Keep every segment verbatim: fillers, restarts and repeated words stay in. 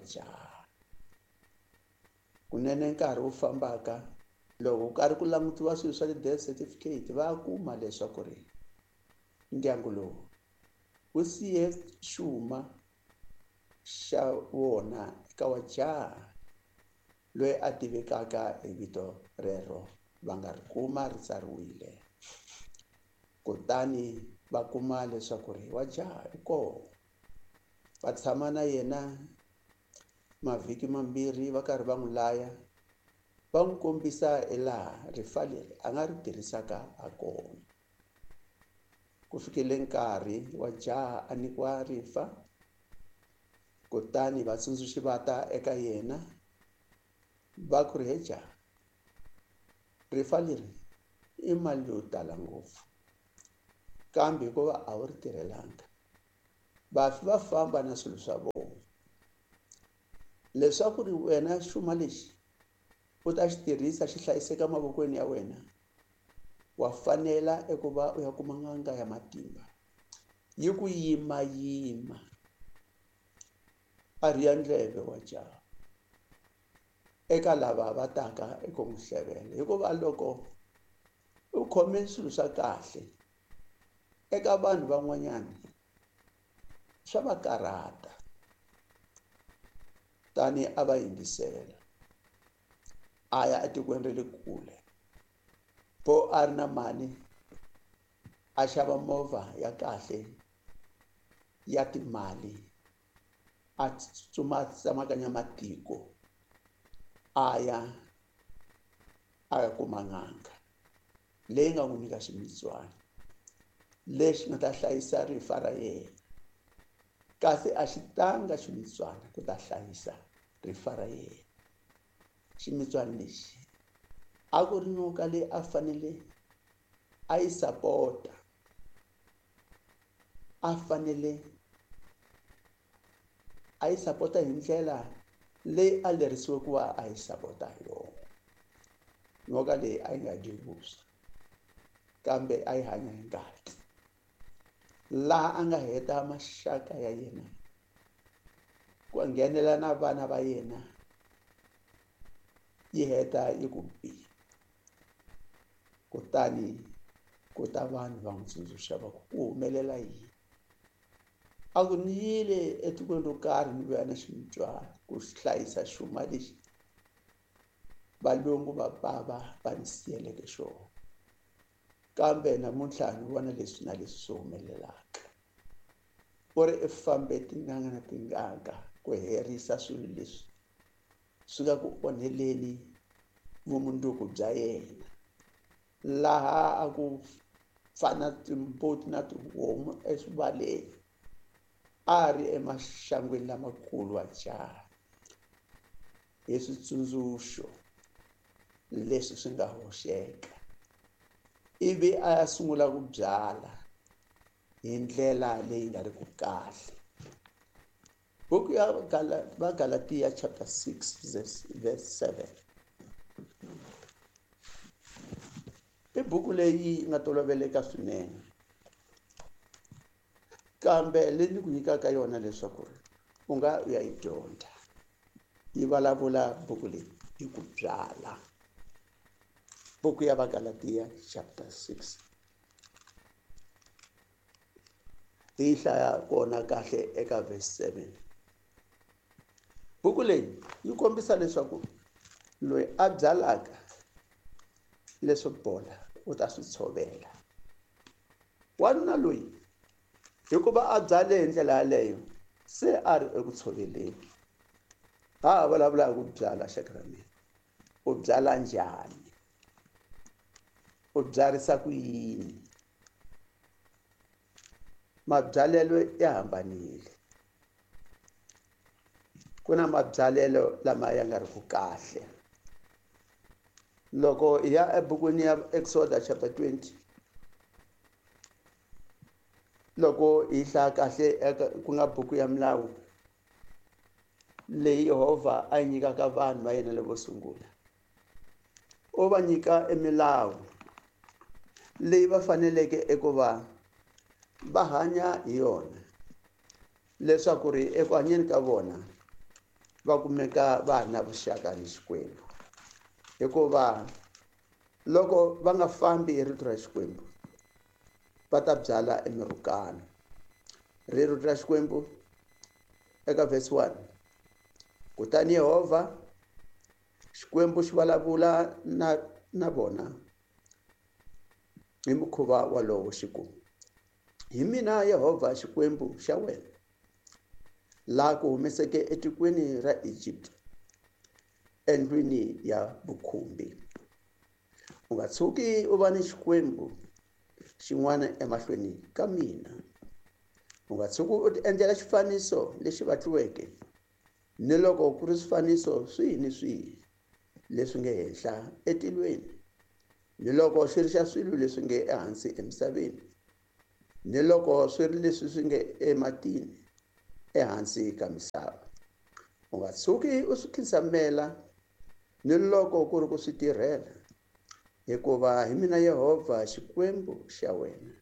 Jaha kunene nkarhi wu fambaka loko ku karhi ku langutiwa swilo swa ti-death certificate, va kuma leswaku ri ndyangu lowu wu siye xuma xa wona eka wa jaha loyi a tivekaka hi vito rero, va nga ri kuma ri tsariwile. Kutani va kuma leswaku ri wa jaha i kona, va tshama na yena mavhiki mambirhi va karhi va n'wi laya, va n'wi kombisa hi laha rifa leri a nga ri tirhisaka ha kona. Ku fikele nkarhi wa jaha a nyikiwa rifa, kutani vatsundzuxi va ta eka yena va ku ri, he jaha, rifa leri i mali yo tala ngopfu, kambe hikuva a wu ri tirhelanga, vafi va famba na swilo swa vona. Leswaku ri wena xuma lexi u ta xi tirhisa xi hlayiseka mavokweni ya wena, wa fanela eku va u ya kuma n'anga ya matimba yi ku yimayima. A rhiya ndleve wa jaha eka lava va taka eku n'wi hlevela, hikuva loko u khome swilo swa kahle eka vanhu van'wanyana swa va karhata. Tani a va yingisela, a ya etikweni ra le kule, po a ri na mali, a xava movha ya kahle ya timali, a tsutsuma a tsemakanya matiko, a ya a ya kuma n'anga leyi nga n'wi nyika ximitswana lexi nga ta hlayisa rifa ra yena. Kasi a xi tanga ximitswana ku ta hlayisa rifa ra yena. Ximitswana lexi a ku ri nyoka leyi a fanele a yi sapota, a fanele a yi sapota hi ndlela leyi a lerisiwe ku va a yi sapota hi yona. Nyoka leyi a yi nga dyi vuswa, kambe a yi hanya hi ngati. Laha a nga heta maxaka ya yena, ku nghenela na vana va yena, yi heta yi ku bi. Kutani ku ta vanhu va n'wi tsundzuxa va ku ku humelela yini. A ku ni yile etikweni ro karhi ni vuya na ximitswana ku hlayisa xuma lexi valungu va bava va ni siyeleke xona, kambe namuntlha ni vona leswi na leswi swi humelelaka. U ri i fambe tin'anga na tin'anga ku herisa swilo leswi swi nga ku onheleni vumundzuku bya yena, laha a ku fana timbuti na tihomu eswivaleni, a ri emaxangwini lamakulu wa jaha hi switsundzuxo leswi swi nga hoxeka, ivi a ya sungula ku byala hi ndlela leyi nga ri ku kahle. Buku ya Vagalatia chapter six verse seven i buku leyi nga toloveleka swinene, kambe leyi ni ku nyikaka yona leswaku u nga u ya yi dyondza. Yi vulavula buku leyi hi ku byala. Buku ya Vagalatia chapter six hi hlaya kona kahle eka verse seven. Buku leyi yi kombisa leswaku loyi a byalaka leswo bola u ta swi tshovela. Wanuna loyi hikuva a byale hi ndlela yaleyo se a ri eku tshoveleni. Ha ha vulavula hi ku byala, xaka ra mina, u byala njhani? U byarisa ku yini? Mabyalelo ya hambanile. Ku na mabyalelo lama ya nga ri ku kahle. Loko hi ya ebukwini ya Exodus chapter twenty, loko hi hlaya kahle ku nga buku ya milawu leyi Yehovha a yi nyikaka vanhu va yena lavo sungula, u va nyika emilawu leyi va faneleke eku va va hanya hi yona, leswaku ri eku hanyeni ka vona va kumeka va na vuxaka ni Xikwembu. Hikuva loko va nga fambi hi rito ra Xikwembu va ta byala emirhukano. Rito ra Xikwembu eka verse one. Kutani Yehovha Xikwembu xi vulavula na na vona hi mukhuva walowo xi ku: Hi mina Yehovha Xikwembu xa wena, laha ku humeseke etikweni ra Egypt, endlwini ya vukhumbi. U nga tshuki u va ni xikwembu xin'wana emahlweni ka mina. U nga tshuki u tiendlela xifaniso lexi vatliweke, ni loko ku ri swifaniso swihi ni swihi leswi nge henhla etilweni, ni loko xi ri xa swilo leswi nge ehansi emisaveni, ni loko swi ri leswi swi nge ematini ehansi ka misava. U nga tshuki u swi khinsamela, ni loko ku ri ku swi tirhela, hikuva hi mina Yehovha Xikwembu xa wena,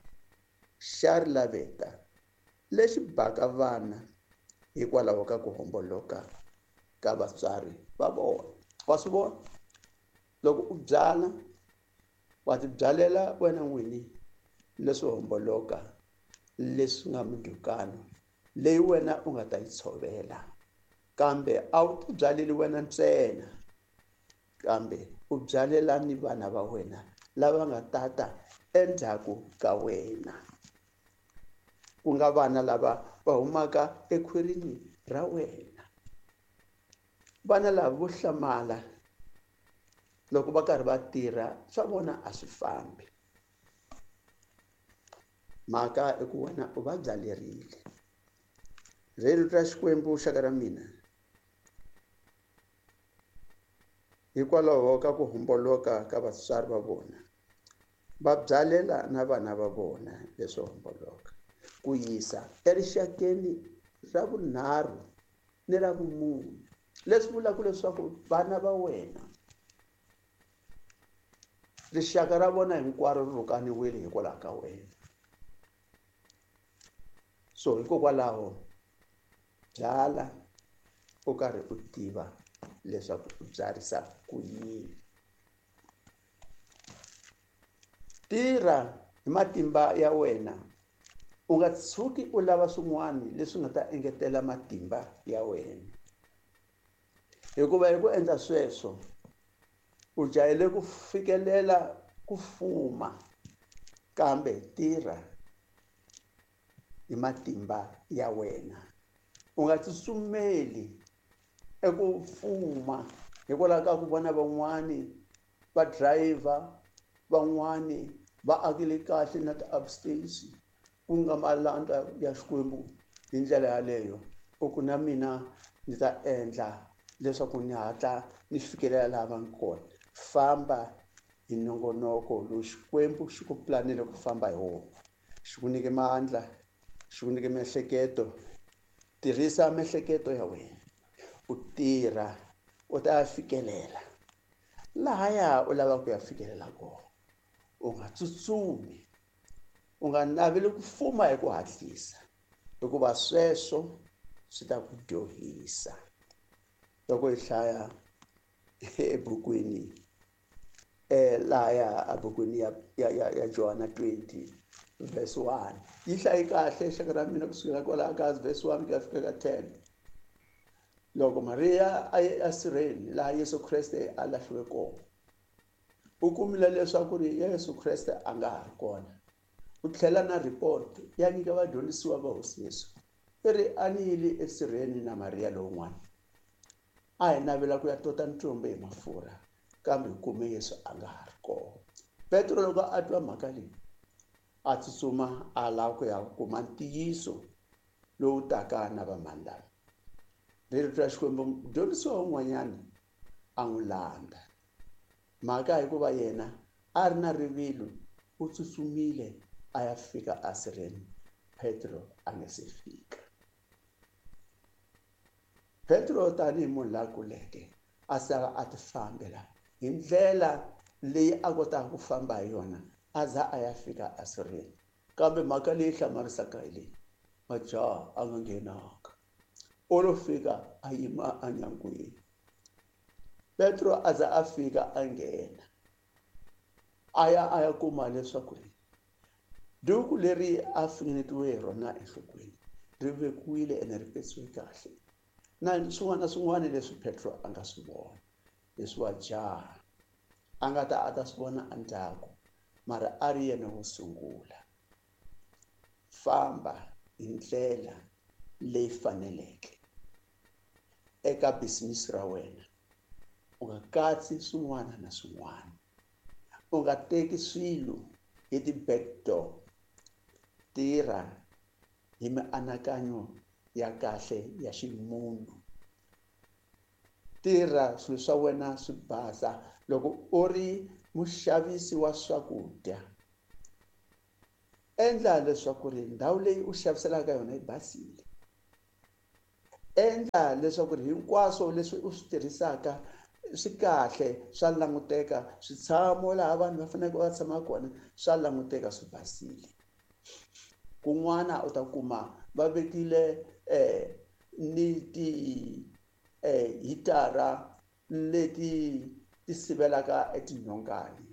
xa ri laveta lexi baka vana hikwalaho ka ku homboloka ka vatswari va vona. Wa swi vona? Loko u byala, wa tibyalela wena n'wini leswo homboloka, leswi nga mindzhukano leyi wena u nga ta yi tshovela. Kambe a wu tibyaleli wena ntsena, kambe u byalela ni vana va wena lava nga tata endzhaku ka wena, ku nga vana lava va humaka ekhwirini ra wena. Vana lava vo hlamala loko va karhi va tirha, swa vona a swi fambi. Mhaka i ku wena u va byalerile. Rito ra Xikwembu xaka ra mina, hikwalaho ka ku homboloka ka vatswari va vona, va byalela na vana va vona leswo homboloka, ku yisa erixakeni ra vunharhu ni ra vumune. Leswi vulaka leswaku vana va wena, rixaka ra vona hinkwaro ri rhukaniwile hikwalaho ka wena. So hikokwalaho byala u karhi u tiva leswaku u byarisa ku yini. Tirha hi matimba ya wena, u nga tshuki u lava swin'wana leswi nga ta engetela matimba ya wena, hikuva hi ku endla sweswo u jahele ku fikelela ku fuma. Kambe tirha hi matimba ya wena, u nga tsutsumeli eku fuma hikwalaho ka ku vona van'wani va driver, van'wani va akile kahle na ti-upstairs, ku nga malandza ya Xikwembu hi ndlela yaleyo. U ku na mina ndzi ta endla leswaku ni hatla ni fikelela laha va nga kona. Famba hi nongonoko lowu Xikwembu xi ku planele ku famba hi wona. Xi ku nyike mandla, xi ku nyike miehleketo. Tirhisa miehleketo ya wena, u tirha, u ta fikelela lahaya u lavaka ku ya fikelela kona. U nga tsutsumi, u nga naveli ku fuma hi ku hatlisa, hikuva sweswo swi ta ku dyohisa. Loko hi hlaya ebukwini eh lahaya ebukwini ya ya ya Johana twenty verse one, yi hlayi kahle xaka ra mina kusukela kwalaho ka verse one ku ya fika ka ten. Loko Mariya a ye esirheni laha Yesu Kreste a lahliwe kona, u kumile leswaku ri Yesu Kreste a nga ha ri kona. U tlhela na report ya nyika vadyondzisiwa va Hosi Yesu, i ri a ni yile esirheni na Mariya lowun'wana, a hi navela ku ya tota ntsumbu hi mafurha, kambe hi kume Yesu a nga ha ri kona. Petro loko a twa mhaka leyi, a tsutsuma a lava ku ya kuma ntiyiso lowu taka na vamani lava. Rito ra Xikwembu, mudyondzisiwa un'wanyana a n'wi landza. Mhaka hikuva yena a ri na rivilo, u tsutsumile a ya fika esirheni, Petro a nga se fika. Petro tanihi munhu la kuleke a sala a ti fambela hi ndlela leyi a kotaka ku famba hi yona, a za a ya fika esirheni. Kambe mhaka leyi hlamarisaka hi leyi, majaha a nga nghenanga. U lo fika a yima enyangweni. Petro a za a fika a nghena, a ya a ya kuma leswaku ri duku leri a finingetiwe hi rona enhlokweni ri vekiwile ene ri petsiwe kahle, na swin'wana na swin'wana leswi Petro a nga swi vona leswi wa jaha a nga ta a ta swi vona endzhaku, mara a ri yena wo sungula. Famba hi ndlela leyi faneleke eka business ra wena, u nga katsi swin'wana na swin'wana, u nga teki swilo hi ti-back door. Tirha hi mianakanyo ya kahle ya ximunhu, tirha swilo swa wena swi basa. Loko u ri muxavisi wa swakudya, endla leswaku ri ndhawu leyi u xaviselaka yona yi basile. Endla leswaku ri hinkwaswo leswi u swi tirhisaka swi kahle, swa languteka, switshamo laha vanhu va faneleke va tshama kona swa languteka swi basile. Kun'wana u ta kuma va vekile eh ni ti eh hitara leti ti sivelaka etinhongani,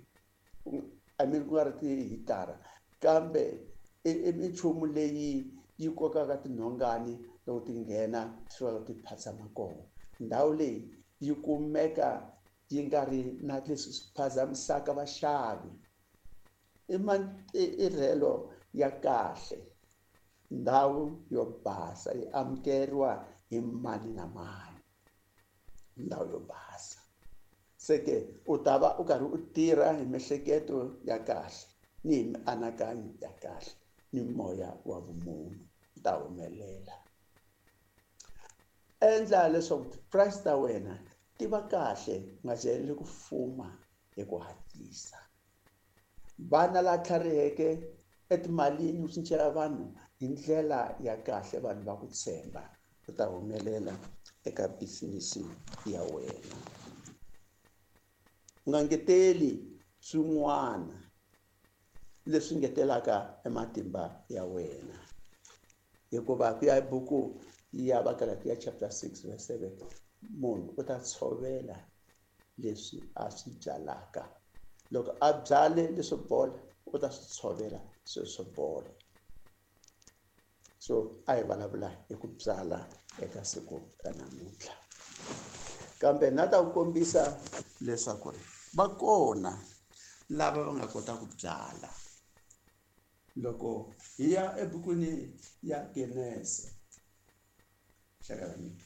I mean ku nga ri tihitara, kambe i minchumu leyi yi kokaka tinhongani loko ti nghena ti fika ti phatsama kona. Ndhawu leyi yi kumeka yi nga ri na leswi swi phazamisaka vaxavi. I matirhelo ya kahle, ndhawu yo basa yi amukeriwa hi mani na mani, ndhawu yo basa. Se ke u ta va u karhi u tirha hi miehleketo ya kahle ni hi mianakanyo ya kahle ni moya wa vumunhu, u ta humelela. Endla leswaku ti-price ta wena ti va kahle, u nga jaheli ku fuma hi ku hatlisa. Vana la tlhariheke etimalini u cincela vanhu hi ndlela ya kahle, vanhu va ku tshemba, u ta humelela eka business ya wena. U nga ngeteli swin'wana leswi ngetelaka ematimba ya wena, hikuva ku ya hi buku ya Vagalatiya chapter six verse seven, munhu u ta tshovela leswi a swi byalaka. Loko a byale leswo bola, u ta swi tshovela sweswo bola. So a hi vulavula hi ku byala eka siku ra namuntlha, kambe na ta ku kombisa leswaku ri va kona lava va nga kota ku byala. Loko hi ya ebukwini ya Genese, xaka ra mina,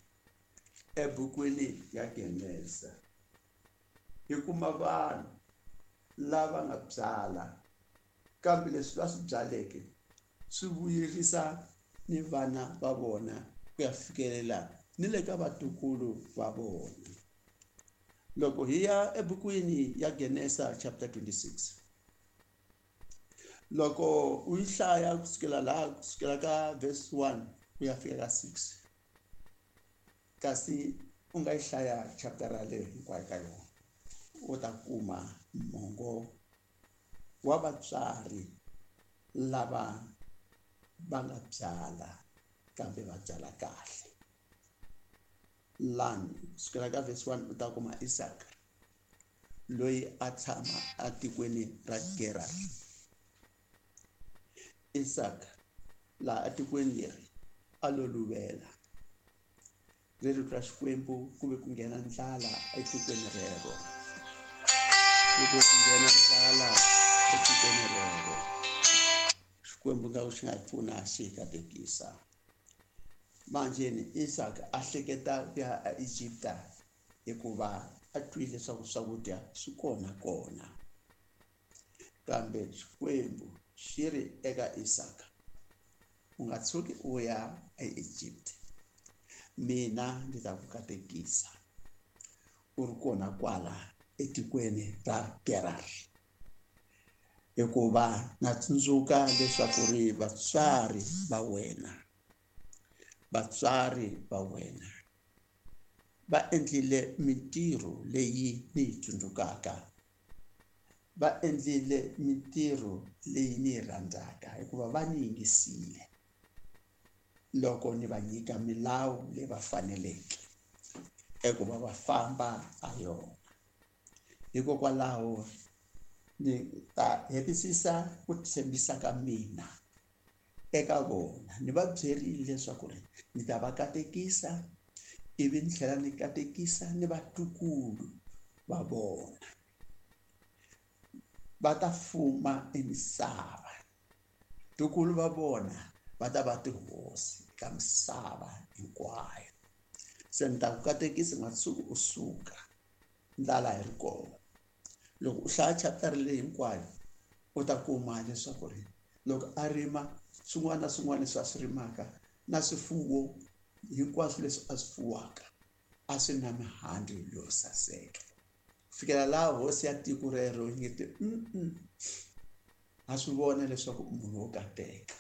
ebukwini ya Genese hi kuma vanhu lava nga byala, kambe leswi va swi byaleke swi vuyerisa ni vana va vona ku ya fikelela ni le ka vatukulu va vona. Loko hi ya ebukwini ya Genesa chapter twenty-six, loko u yi hlaya kusukela laha, kusukela ka verse one ku ya fika ka six, kasi u nga yi hlaya chapter yaleyo hinkwayo ka yona, u ta kuma mongo wa vatswari lava va nga byala kambe va byala kahle. Lani kusukela ka verse one u ta kuma Isaka loyi a tshama atikweni ra Gerar. Isaka laha atikweni leri a lo luvela, ri rito ra Xikwembu ku ve ku nghena ndlala etikweni rero, ku ve ku nghena ndlala etikweni rero. Xikwembu nga xi nga pfuna xi katekisa. Manjeni Isaka a hleketa ku ya aEgipta hikuva a twile leswaku swakudya swi kona kona, kambe Xikwembu xi ri eka Isaka, u nga tshuki u ya aEgypt, mina ndzi ta ku katekisa u ri kona kwala etikweni ra Gerar. Hikuva na tsundzuka leswaku ri vatswari va wena, vatswari va wena va endlile mintirho leyi ni yi tsundzukaka, va endlile mintirho leyi ni yi rhandzaka, hikuva va ni yingisile. loko ni va nyika milawu leyi va faneleke eku va va famba ha yona. Hikokwalaho ni ta hetisisa ku tshembisa ka mina eka vona. Ni va byerile leswaku ri ni ta va katekisa ivi ni tlhela ni katekisa ni vatukulu va vona. Va ta fuma emisava, tukulu va vona va ta va tihosi ka misava hinkwayo. Se ni ta ku katekisa u nga tshuki u suka ndlala yi ri kona. Loko u hlaya chapter leyi hinkwayo u ta kuma leswaku ri loko a rima swin'wana na swin'wana leswi a swi rimaka na swifuwo hinkwaswo leswi a swi fuwaka a swi na mihandzu yo saseka. Ku fikela laha hosi ya tiko rero yi nge te ha swi vona leswaku munhu wo kateka,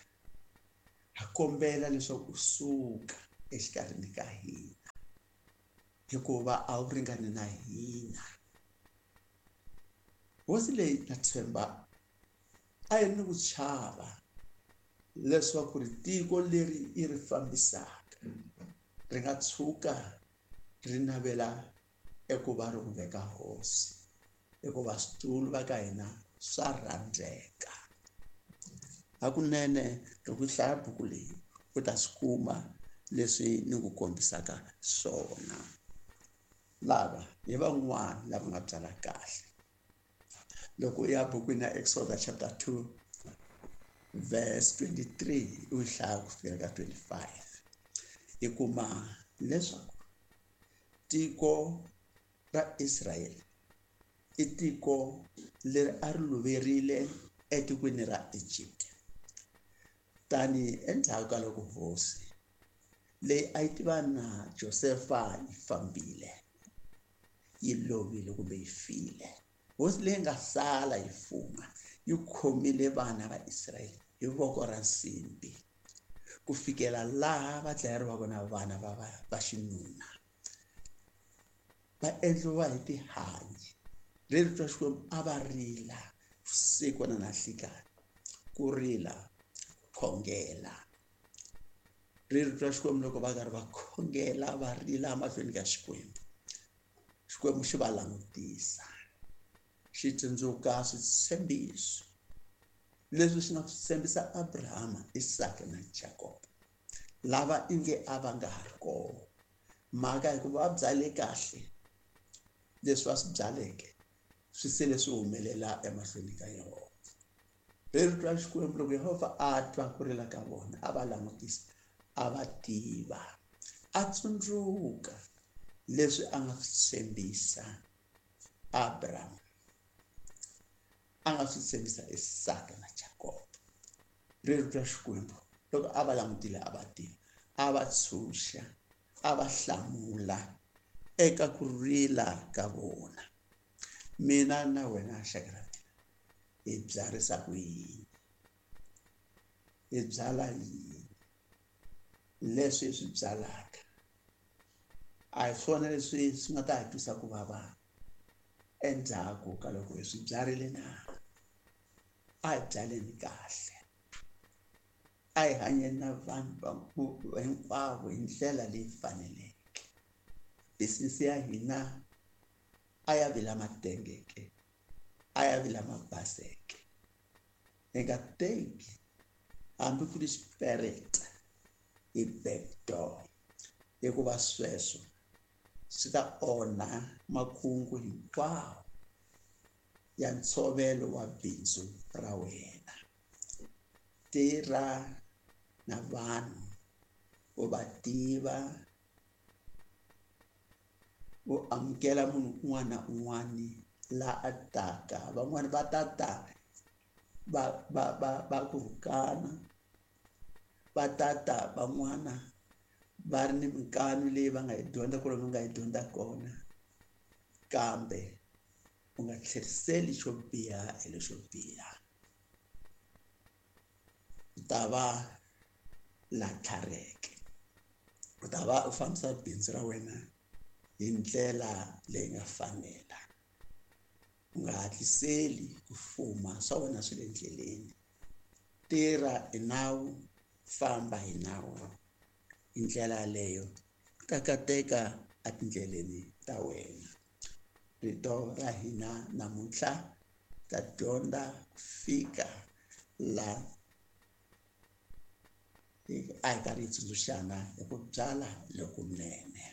ha kombela leswaku u suka exikarhini ka hina hikuva a wu ringani na hina. Hosi leyi na tshemba a yi ri ni ku chava leswaku ri tiko leri yi ri fambisaka ri nga tshuka ri navela eku va ri n'wi veka hosi, hikuva switulu va ka hina swa rhandzeka. Hakunene loko u hlaya buku leyi u ta swi kuma leswi ni ku kombisaka swona. Lava hi van'wana lava nga byala kahle. Loko u ya bukwini ya Exodus chapter two verse twenty-three u yi hlaya ku fikela ka twenty-five, hi kuma leswaku tiko ra Israel i tiko leri a ri luverile etikweni ra Egypt. Tani endzhaku ka loko hosi leyi a yi tiva na Josefa yi fambile, yi lovile kumbe yi file, hosi leyi nga sala yi fuma yi khomile vana va Israyele hi voko ra nsimbi ku fikela laha va dlayeriwaka na vana va va va xinuna, va endliwa hi tihanyi. Rito ra Xikwembu a va rila vusiku na nhlikani, ku rila khongela. Rito ra Xikwembu loko va karhi va khongela va rila mahlweni ka Xikwembu, Xikwembu xi va langutisa, xi tsundzuka switshembiso leswi xi nga swi tshembisa Abrahama, Isaka na Jakob, lava inge a va nga ha ri kona. Mhaka hikuva va byale kahle, leswi va swi byaleke swi sele swi humelela emahlweni ka Yehovha. Rito ra Xikwembu loko Yehovha a twa ku rila ka vona, a va langutisa, a va tiva, a tsundzuka leswi a nga swi tshembisa Abraham, a nga swi tshembisa Isaka na Jakob. Rito ra Xikwembu loko a va langutile a va tiva, a va tshunxa, a va hlamula eka ku rila ka vona. Mina na wena xaka ra mina hi byarisa ku yini? Hi byala yini? Leswi hi swi byalaka a hi swona leswi swi nga ta hi twisa ku vava endzhaku ka loko hi swi byarile na? A hi byaleni kahle, a hi hanyeni na vanhu hinkwavo hi ndlela leyi faneleke. Business ya hina a ya vi lama tengeke, a ya vi lama baseke. Hi nga teki hambi ku ri xipereta hi back door, hikuva sweswo swi ta onha makungu hinkwawo ya ntshovelo wa bindzu ra wena. Tirha na vanhu u va tiva, u amukela munhu un'wana na un'wana la a taka. Van'wani va ta ta va va va va ku rhukana, va ta ta van'wana va ri ni minkanu leyi va nga yi dyondza ku ri va nga yi dyondza kona, kambe u nga tlheriseli xo biha hi lexo biha. U ta va la tlhariheke, u ta va u fambisa bindzu ra wena hi ndlela leyi nga fanela. U nga hatliseli ku fuma, swa wena swi le ndleleni. Tirha hi nawu, famba hi nawu, Hi ndlela yaleyo u ta kateka etindleleni ta wena. Rito ra hina namuntlha ta dyondza ku fika la a hi karhi hi tsundzuxana hi ku byala lokunene.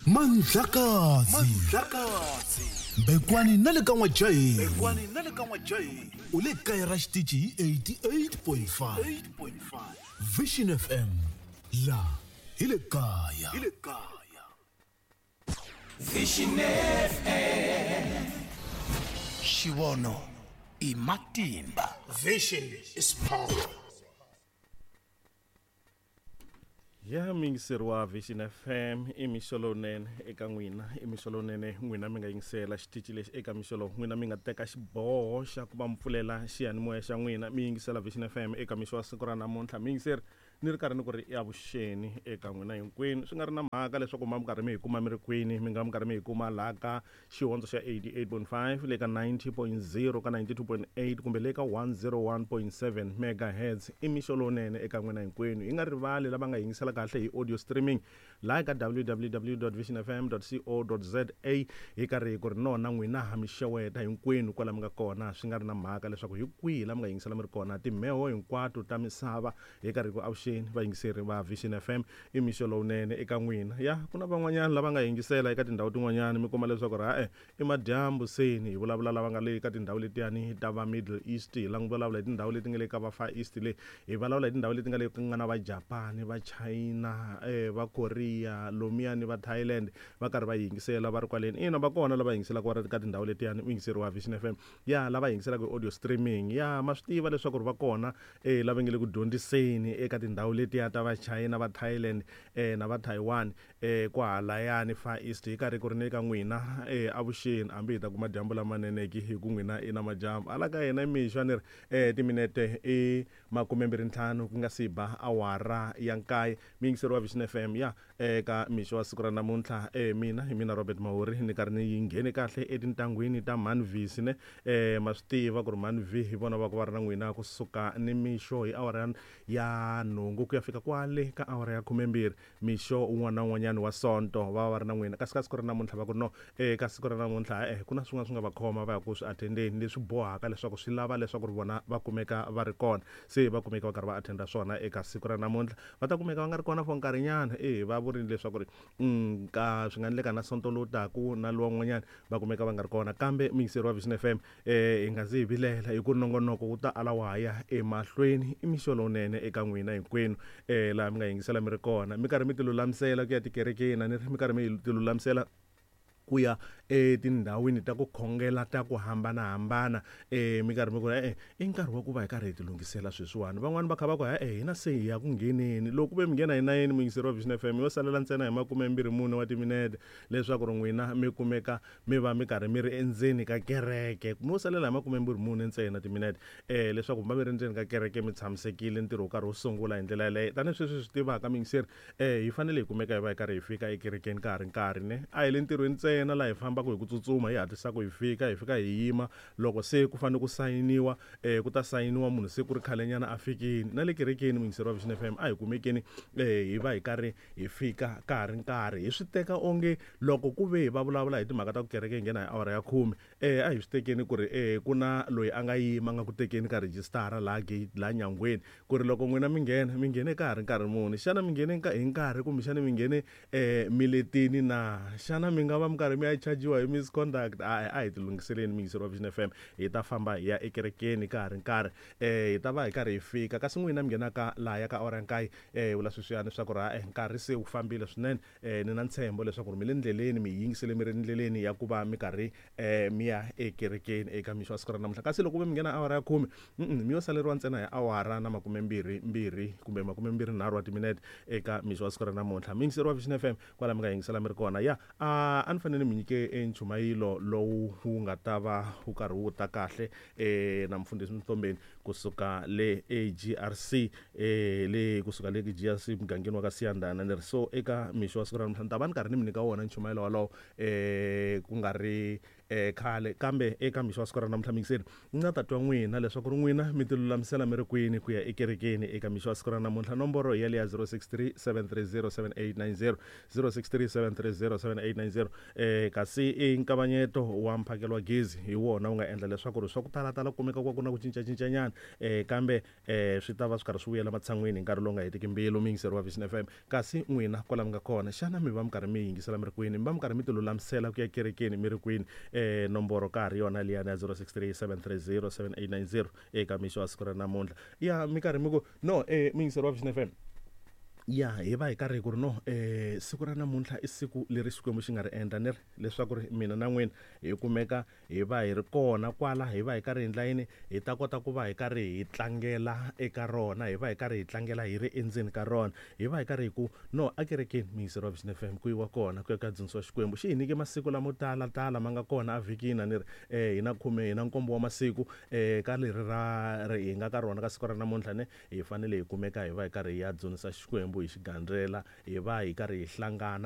Mandlakazi Mandlakazi Mbekwani na le ka N'wajaheni Mbekwani na le ka N'wajaheni u le kaya ra xitichi hi eighty-eight point five Vision F M la hi le kaya hi le kaya Vision F M Xivono i matimba. Vision is power. Ya miyingiseri wa Vision F M i mixo lowunene eka n'wina, i mixo lowunene n'wina mi nga yingisela xitichi lexi eka mixo lowu n'wina mi nga teka xiboho xa ku va mi pfulela xiyanimoya xa n'wina mi yingisela Vision F M eka mixo wa siku ra namuntlha. Miyingiseri ni ri karhi ni ku ri ya vuxeni eka n'wina hinkwenu, swi nga ri na mhaka leswaku ma mi karhi mi hi kuma mi ri kwini, mi nga mi karhi mi hi kuma laha ka xihondzo xa eighty-eight point five le ka ninety point zero ka ninety-two point eight kumbe le ka one oh one point seven megahertz. I mixo lowunene eka n'wina hinkwenu. Hi nga rivali lava nga yingisela kahle hi audio streaming laha ka w w w dot vision f m dot co dot z a hi karhi hi ku ri nona n'wina ha mi xeweta hinkwenu kwala mi nga kona, swi nga ri na mhaka leswaku hi kwihi la mi nga yingisela mi ri kona, timheho hinkwato ta misava hi karhi ku avuxeni vayingiseri va Vision F M i mixo lowunene eka n'wina. Ya ku na van'wanyana lava nga yingisela eka tindhawu tin'wanyana mi kuma leswaku ri ha-e i madyambu seni hi vulavula lava nga le ka tindhawu letiyani ta va Middle East, hi vulavula hi tindhawu leti nga le ka va Far East le, hi vulavula hi tindhawu leti nga le ku nga na va Japan, va China, eh va Korea, lomiyani va Thailand va karhi va yingisela va ri kwaleni. Ina va kona lava yingiselaka va ri ka tindhawu letiyani muyingiseri wa Vision F M ya lava yingiselaka hi audio streaming ya ma swi tiva leswaku ri va kona eh lava nge le ku dyondziseni eka tindhawu letiya ta va China, va Thailand eh na va Taiwan eh kwahalayani Far East. Hi karhi ku ri ne ka n'wina eh avuxeni, hambi hi ta kuma dyambu lamaneneki hi ku n'wina i na madyambu ala ka hina mixo a ni ri eh timinete i makumembirhi ntlhanu ku nga si ba awara ya nkaye. Muyingiseri wa Vision F M ya eka mixo wa siku ra namuntlha eh mina hi mina Robert Mahuri ni karhi ni yi nghene kahle etintangwini ta Manvis ne eh ma swi tiva ku ri Manvi hi vona va ku va ri na n'wina kusuka ni mixo hi awara ya nhungu ku ya fika kwale ka awara ya khumembirhi mixo un'wana na un'wanyana wa Sonto va va ri na n'wina. Kasi ka siku ra namuntlha va ku no eka siku ra namuntlha eh ku na swin'wana swi nga va khoma va ya ku swi attendeni leswi bohaka leswaku swi lava leswaku ri vona va kumeka va ri kona, se va kumeka va karhi va attenda swona eka siku ra namuntlha. Va ta kumeka va nga ri kona for nkarhinyana eh va vurile leswaku ri ka swi nga endleka na Sonto lowu taku na lowa n'wanyana va kumeka va nga ri kona. Kambe muyingiseri wa Vision F M eh hi nga zi hi vilela hi ku nongonoko wu ta ala wa ha ya emahlweni. I mixo lowunene eka n'wina hinkwenu eh laha mi nga yingisela mi ri kona, mi karhi mi ti lulamisela ku ya tikerekeni, a ni ri mi karhi mi ti lulamisela ku ya etindhawini ta ku khongela ta ku hambanahambana eh mi karhi mi ku e i nkarhi wa ku va hi karhi hi ti lunghisela sweswiwani. Van'wani va kha va ku e hina se hi ya ku ngheneni, loko ku ve mi nghena hi nayeni muyingiseri wa Vision F M yo salela ntsena hi makumembirhi mune wa timinete leswaku ri n'wina mi kumeka mi va mi karhi mi ri endzeni ka kereke, mi yo salela hi makumembirhi mune ntsena timinete eh leswaku mi va mi ri endzeni ka kereke mi tshamisekile, ntirho wu karhi wu sungula hi ndlela yaleyo. Tanihi sweswi swi tivaka muyingiseri eh hi fanele hi kumeka hi va hi karhi hi fika ekerekeni ka ha ri nkarhi ne a hi le ntirhweni ntsena laha hi fambaka hi ku tsutsuma hi hatlisaka hi fika hi fika hi yima loko se ku fanele ku sayiniwa eh ku ta sayiniwa munhu se ku ri khalenyana a fikini. Na le kerekeni muyingiseri wa Vision F M a hi kumekeni eh hi va hi karhi hi fika ka ha ri nkarhi. Hi swi teka onge loko ku ve hi va vulavula hi timhaka ta ku kereke hi nghena hi awara ya khume eh a hi swi tekeni ku ri eh ku na loyi a nga yima nga ku tekeni ka rejistara laha gate laha nyangweni ku ri loko n'wina mi nghena mi nghene ka ha ri nkarhi muni, xana mi nghene hi nkarhi kumbexana mi nghene eh miletini na, xana mi nga va mi karhi mi ya chajiwa hi misconduct? A a hi ti lunghiseleni muyingiseri wa Vision F M, hi ta famba hi ya ekerekeni ka ha ri nkarhi eh hi ta va hi karhi hi fika. Kasi n'wina mi nghenaka laha ya ka awara ya nkaye eh vula sweswiyani swa ku ri ha nkarhi se wu fambile swinene eh ni na ntshembo leswaku ri mi le ndleleni mi yingisele mi ri ndleleni ya ku va mi karhi eh mi ya ekerekeni eka mixo wa siku ra namuntlha. Kasi loko ve mi nghena awara ya khume mi yo saleriwa ntsena hi awara na makumembirhi mbirhi kumbe makumembirhi nharhu wa timinete eka mixo wa siku ra namuntlha. Muyingiseri wa Vision F M kwala mi nga yingisela mi ri kona ya a a ni fanele mi nyike enchumayilo lowu wu nga ta va wu karhi wu ta kahle eh na mfundhisi Mtombeni kusuka le A G R C eh le kusuka le G R C mugangeni wa ka Siyandana ni ri so eka mixo wa siku ra namuntlha ni ta va ni karhi ni mi nyika wona nchumayelo walowo eh ku nga ri eh khale kambe eka mixo wa siku ra namuntlha mingiseri ni nga ta twa n'wina leswaku ri n'wina mi ti lulamisela mi ri kwini ku ya ekerekeni eka mixo wa siku ra namuntlha nomboro ya leya zero six three seven three zero seven eight nine zero zero six three seven three zero seven eight nine zero eh kasi i nkavanyeto wa mphakelo wa gezi hi wona wu nga endla leswaku ri swa ku talatala kumeka ku ku na ku cincacincanyana eh kambe eh swi ta va swi karhi swi vuyela matshan'wini hi nkarhi lowu nga hetiki mbilu miyingiseri wa Vision F M kasi n'wina kwala mi nga kona xana mi va mi karhi mi yingisela mi ri kwini mi va mi karhi mi ti lulamisela ku ya kerekeni mi ri kwini eh nomboro ka ha ri yona liyani ya zero six three seven three zero seven eight nine zero eka mixo wa siku ra namuntlha ya mi karhi mi ku no eh miyingiseri wa Vision F M ya hi va hi karhi ku ri no eh siku ra namuntlha i siku leri Xikwembu xi nga ri endla ni ri leswaku ri mina na n'wina hi kumeka hi va hi ri kona kwala hi va hi karhi hi endla yini hi ta kota ku va hi karhi hi tlangela eka rona hi va hi karhi hi tlangela hi ri endzeni ka rona hi va hi karhi hi ku no akerekeni miyingiseri wa Vision F M ku yiwa kona ku ya ka dzunisiwa Xikwembu xi hi nyike masiku lamo tala tala ma nga kona a vhikini ni ri eh hi na khume hi na nkombo wa masiku eh ka leri ra hi nga ka rona ka siku ra namuntlha ne hi fanele hi kumeka hi va hi karhi hi ya dzunisa Xikwembu hi xigandzela hi va hi karhi hi hlangana